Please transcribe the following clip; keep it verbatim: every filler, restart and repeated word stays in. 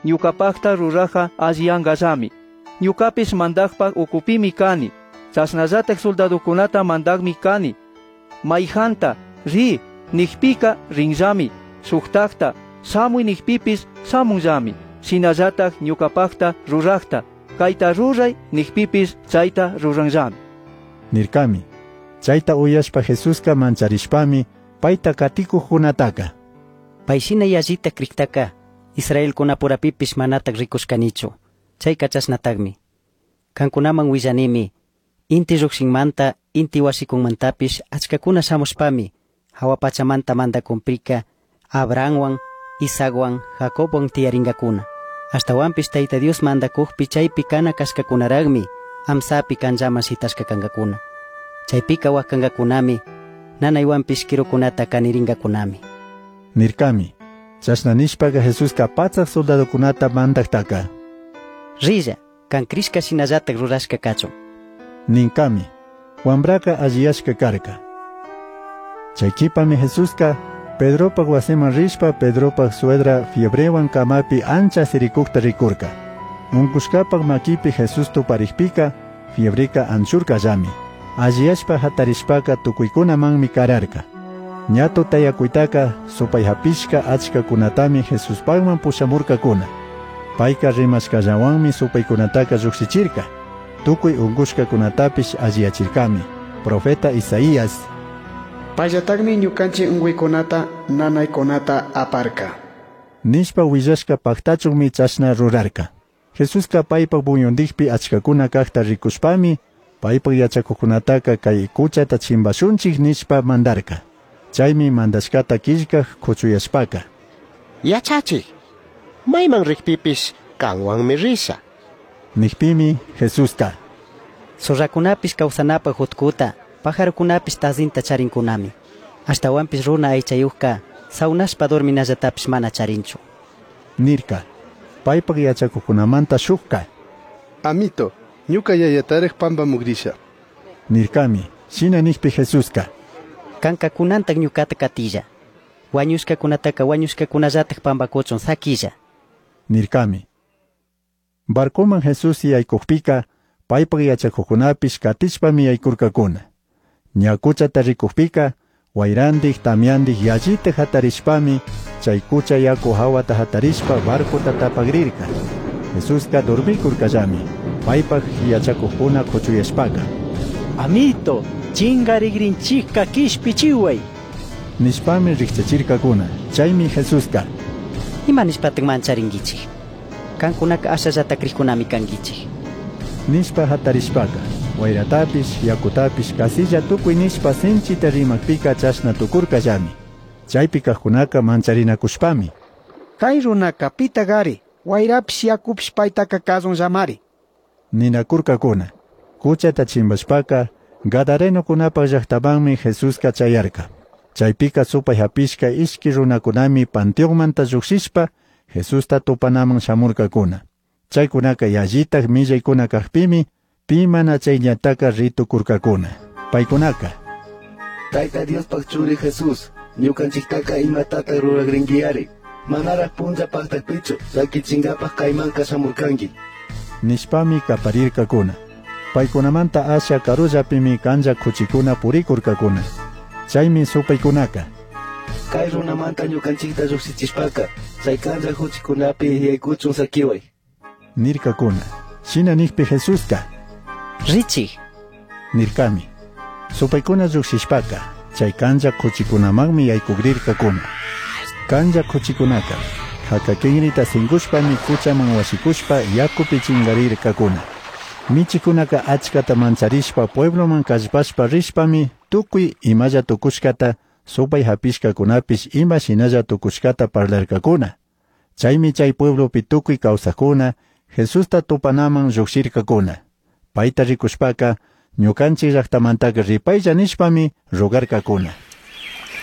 Ñucapajta rurajca alliyangallami. Ñucapish mandajpaj ucupimi cani. Chashnallataj soldadocunata mandajmi cani. Maijanta, ri, nijpica rinllami. Shujtajta, shamui nijpipish shamunllami. Shinallataj ñucapajta rurajta, caita rurai nijpipish chaita ruranllami. Nircami. Chaita uyashpa Jesusca mancharishpami paita caticujcunataca. Paishina yallita crijtaca Israelcunapurapipish manataj ricushcanichu. Chaica chashnatajmi. Cancunaman huillanimi, inti llujshinmanta, inti huashicunmantapish achcacuna shamushpami, jahua pachamanta mandacunpica Abrahamhuan, Isaachuan, Jacobhuan tiyaringacuna. Ashtahuanpish Taita Dios mandacujpi chaipi cana cashcacunarajmi amsapi canllaman shitashca cangacuna. Chaipica huacancacunami, nanaihuanpish quirucunata caniringacunami. Nircami. Chashna nishpaca Jesusca patsaj soldadocunata mandajtaca. Rilla, can crishca shinallataj rurashca cachun. Nincami. Huambraca alliyashca carca. Chai quipami Jesusca Pedropaj huasiman rishpa Pedropaj suegra fiebrehuan camapi ancha siricujta ricurca. Uncushcapaj maquipi Jesús tuparijpica fiebreca anchurcallami. Alliyashpa jatarishpaca tucuicunamanmi cararca. Ña tutayacuitaca supai japishca achcacunatami Jesuspajman pushamurcacuna. Paica rimashcallahuanmi supaicunataca llujshichirca. Tucui uncushcacunatapish alliyachircami. Profeta Isaías. Payllatakmi ñukanchik unquykunata nanaykunata aparka. Nishpa huillashca pajtachunmi chashna rurarca. Jesusca paipaj muyundijpi achcacuna cajta ricushpami paipaj yachacujcunataca cai cuchata chimbashunchij nishpa mandarca. Chaimi mandashcata quillcaj cuchuyashpaca. Yachachij, mayman rijpipish kanwanmi risha. Nijpimi Jesusca. Zorracunapish causanapaj jutcuta, pajarocunapish tazinta charincunami. Ashtahuanpish runa aychayujca saunashpa dorminallatapish mana charinchu. Nirca. Paipaj yachacujcunamanta shujca. Amito, ñuka yayataraj pampamugrisha. Nircami. Shina nijpi Jesusca. Canca cunantaj ñucata catilla. Huañushcacunataca huañushcacunallataj pambacuchun saquilla. Nircami. Barcoman Jesús yaicujpica paipaj yachacujcunapish catishpami yaicurcacuna. Ña cuchata ricujpica huairandij tamiandij yallita jatarishpami chay cucha yacu jahuata jatarishpa barcota tapagrirca. Jesusca dormicurcallami. Paipaj yachacujcuna cuchuyashpaca. Amito, chingarigrinchikka quishpichihuay. Nishpami rijchachircacuna. Chaimi Jesusca. Ima nishpataj mancharinguichij? Cancunaca ashallata crijcunami canguichij. Nishpa jatarishpaca huairatapish yacutapish casilla tucui nishpa sinchita rimajpica chashna tucurcallami. Chaipi cajcunaca mancharinacushpami. Kay runaka pitagari, huayrapish yacupish paytaka kazunllamari. Ninacurcacuna. Cuchata chimbashpaca Gadarenocunapaj llajtamanmi Jesusca chayarca. Chaipica supai japishca ishqui runacunami panteonmanta llujshishpa Jesusta tupanaman shamurcacuna. Chaicunaca yallitaj millaicuna cajpimi pi mana chayllataca ritucurcacuna. Paicunaca. Taita Diospaj churi Jesús, ñukanchiktaka imatata ruragringuiari. Manaraj punlla pajtakpichu, llaquichingapaj kaymanka shamurkanki. Nishpami caparircacuna. Paicunamanta asha carullapimi canlla cuchicuna puricurcacuna. Chaimi supaicunaca. Kay runamanta ñukanchikta llujshichishpaka, chay canlla cuchicunapi yaykuchun saquiway. Nircacuna. Shina nijpi Jesusca. Richij. Nircami. Supaicuna llujshishpaca, chay canlla cuchicunamanmi yaicugrircacuna. Canlla cuchicunaca, jacaquinrita singushpami cuchaman huashicushpa yacupi chingarircacuna. Michicunaca achcata mancharishpa puebloman callpashpa rishpami tucui imalla tucushcata supai japishcacunapish ima shinalla tucushcata parlarcacuna. Chaimi chay pueblopi tucui causajcuna Jesusta tupanaman llujshircacuna. Paita ricushpaca ñukanchik llajtamantaca ripaylla nishpami rogarcacuna.